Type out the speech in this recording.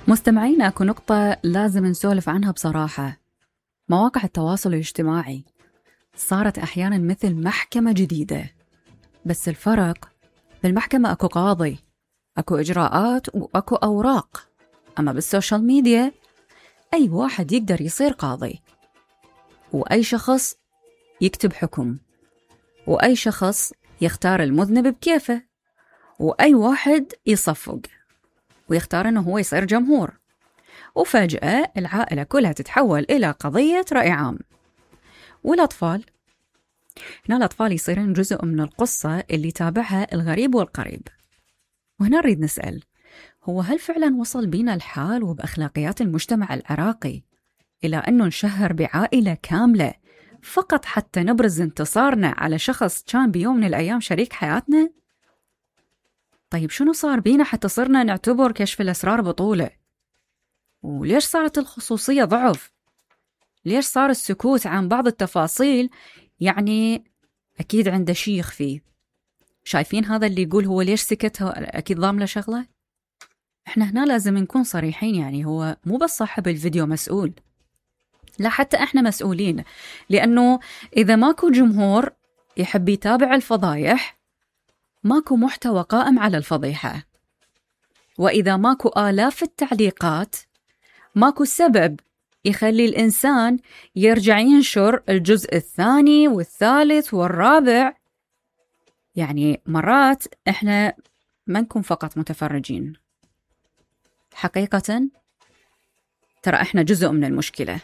مستمعين، اكو نقطة لازم نسولف عنها بصراحة. مواقع التواصل الاجتماعي صارت أحيانا مثل محكمة جديدة، بس الفرق بالمحكمة اكو قاضي، اكو إجراءات واكو أوراق. أما بالسوشيال ميديا أي واحد يقدر يصير قاضي، وأي شخص يكتب حكم، وأي شخص يختار المذنب بكيفه، وأي واحد يصفق ويختار أنه هو يصير جمهور، وفجأة العائلة كلها تتحول إلى قضية رأي عام. والأطفال، هنا الأطفال يصيرون جزء من القصة اللي تابعها الغريب والقريب. وهنا نريد نسأل، هو هل فعلا وصل بينا الحال وبأخلاقيات المجتمع العراقي إلى أنه نشهر بعائلة كاملة فقط حتى نبرز انتصارنا على شخص كان بيوم من الأيام شريك حياتنا؟ طيب شنو صار بينا حتى صرنا نعتبر كشف الأسرار بطولة؟ وليش صارت الخصوصية ضعف؟ ليش صار السكوت عن بعض التفاصيل يعني أكيد عنده شي يخفيه؟ شايفين هذا اللي يقول هو ليش سكت، أكيد ضامله شغلة؟ إحنا هنا لازم نكون صريحين، يعني هو مو بس صاحب الفيديو مسؤول، لا حتى إحنا مسؤولين، لأنه إذا ماكو جمهور يحب يتابع الفضايح ماكو محتوى قائم على الفضيحة، وإذا ماكو آلاف التعليقات ماكو سبب يخلي الإنسان يرجع ينشر الجزء الثاني والثالث والرابع. يعني مرات إحنا ما نكون فقط متفرجين، حقيقة ترى إحنا جزء من المشكلة.